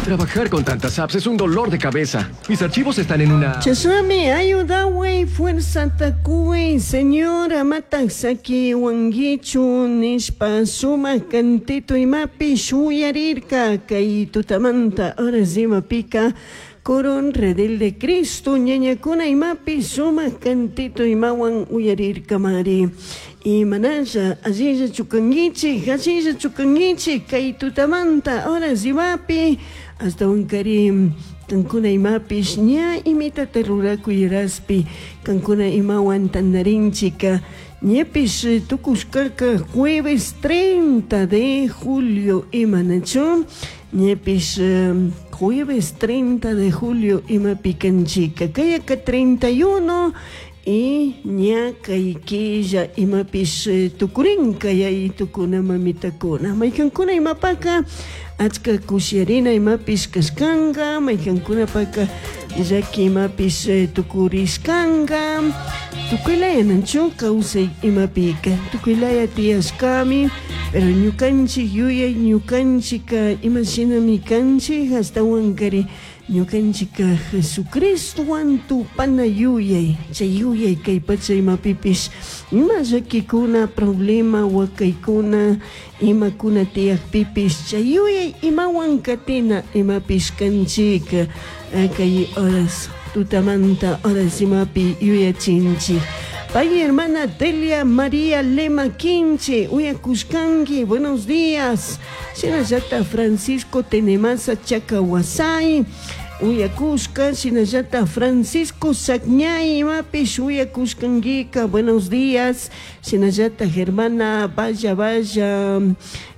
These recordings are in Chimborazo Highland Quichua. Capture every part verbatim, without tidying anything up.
Trabajar con tantas apps es un dolor de cabeza. Mis archivos están en una... Chashnami ayudaway fuerzata cuy Señor amataj saquiwanguichu nishpa sumak cantito imapi shuyarirka kay tutamanta horas imapika Coron Redil de Cristo ñañakuna imapi sumak cantito imawan uyarirkamari. Imanalla allilla chukanguichik allilla chukanguichik kay tutamanta horas imapi hasta unkari kankuna imapish ña imitata rurakuyaraspi kankuna imawan tandarinchika ñapish tukushkaka jueves treinta de julio imanachu ñapish jueves treinta de julio imapi kanchika kayaka treinta y uno y ña kay killa imapish tukurinka yaytukuna mamitakuna maykankuna imapaka achka kushiarina imapish kashkanka maykankunapaka llaki imapish tukurishkanka tukuylaya nanchu kawsay imapika tukuylaya tiyashkami pero ñukanchik yuyay ñukanchika imashinami kanchik ashtawankari ñukanchika Jesucristowan tupana yuyay chay yuyay kay pacha imapipish ima llakikuna problema wakaykuna imakuna tiyakpipish chay yuyay imawan katina imapish kanchik kay horas tutamanta horas imapi yuyachinchik. Pay hermana Delia María Lema Quinche, uyakushkanki, buenos días. Shinallata Francisco Tenemasa Chacahuasay, uyakushka, shinallata Francisco Sacñay, imapish uyakushkankika, buenos días. Shinallata hermana Vaya Vaya,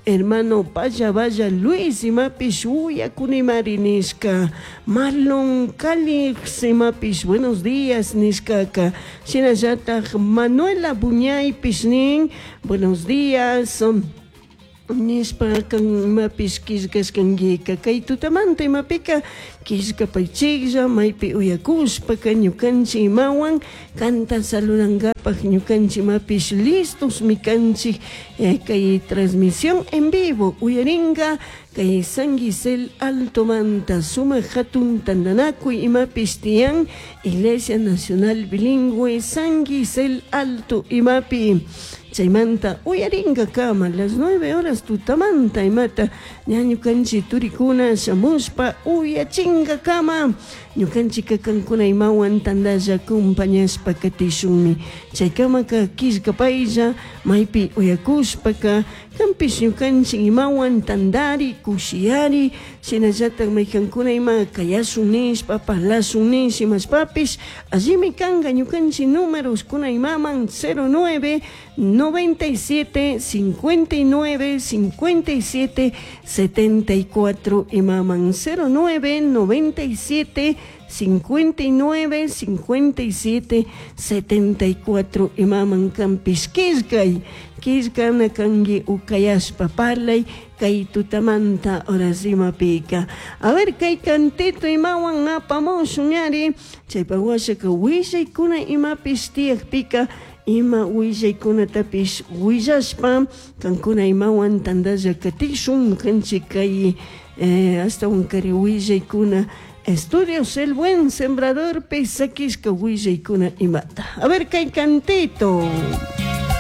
hermano Vaya Vaya Luis, imapish uyakunimari nishka. Marlon Calix, imapish buenos días nishkaka. Shinallata Manuela Buñay pishnin, buenos días. Nishpa kan imapish killkashkankika kay tutamanta imapika killkapaychiklla maypi uyakushpaka ñukanchik imawan kanta saludankapaj ñukanchik imapish listos mikanchik kay transmisión en vivo uyarinka kay San Gisel Altomanta sumak hatun tantanakuy imapish tiyan Iglesia Nacional Bilingüe San Gisel Alto imapi chaymanta uyarinka kama las nueve horas tutamanta imata ña ñukanchik turikuna shamushpa uyachinka kama ñukanchika kankuna imawan tantalla acompañashpa katishunmi chaykamaka killkapaylla maypi uyakushpaka kanpish ñukanchik imawan tantari kushiyari shinallatak maykankuna ima kayashun nishpa parlashun nish imashpapish allimi kanka ñukanchik números kuna imaman cero nueve noventa y siete cincuenta y nueve cincuenta y siete setenta y cuatro imaman cero nueve noventa y siete cincuenta y nueve cincuenta y siete setenta y cuatro imaman kanpish killkay killkana kanki ukayashpa parlay kay tutamanta horas imapika. A ver kay cantito imawan apamushun ñari chaypa washaka willaykuna imapish tiyakpika ima willaykunatapish willashpa kankuna imawan tantalla katishun kanchik kay eh, hasta kari willaykuna Estudios El Buen Sembrador pisakishka willaykuna imata. A ver kay cantito.